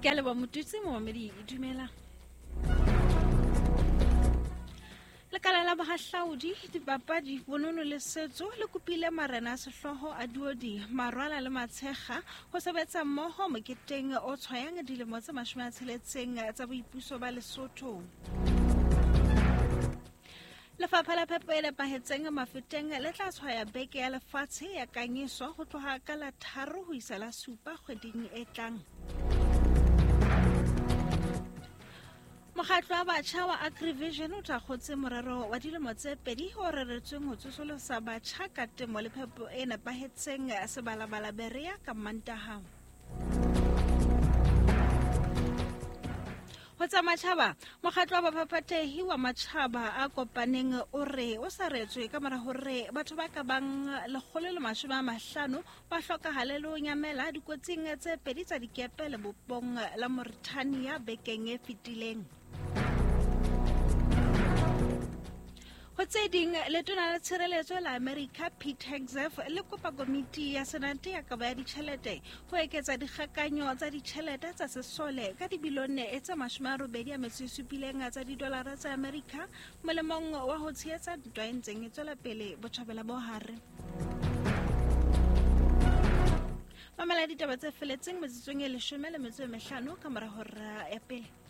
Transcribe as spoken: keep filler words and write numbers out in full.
Ke a leboha Motutsi momamedi, dumela. Lekala la bohahlaudi, dipapadi, bonono le setso le kopile marena a sehlooho a Duodi, Marwala le Matshekga ho sebetsa mmoho moketeng o tshwayang dilemo tse mashome a tsheletseng tsa boipuso ba Lesotho. Lefapha la phepo e nepahetseng Mafeteng le tla tshwaya beke ya lefatshe ya kanyiso ho tloha ka la tharo ho isa la supa kgweding e tlang. Mokgatlo wa batjha wa Agrivision o thakgotse morero wa dilemo tse pedi o reretsweng ho tsosolosa batjha ka temo le phepo e nepahetseng Sebalabala Berea ka Mantaha. Ho tsa matjhaba, mokgatlo wa baphaphathehi wa matjhaba a kopaneng o re o saretswe ka mora hore batho ba ka bang lekgolo le mashome a mahlano ba hlokahale le ho nyamela dikotsing tse pedi tsa dikepe lebopong la Mauritania bekeng e fetileng. Ho tse ding, letona la tshireletso la Amerika Pete Hegseth le kopa komiti ya Senate ya kabo ya ditjhelete ho eketsa dikgakanyo tsa ditjhelete tsa sesole ka dibilione tse mashome a robedi a metso e supileng tsa didolara tsa Amerika molemong wa ho tshehetsa ntwa e ntseng e tswela pele Botjhabela bo Hare. Mamela ditaba tse feletseng metsotsong e leshome le metso e mehlano ka mora hora ya pele.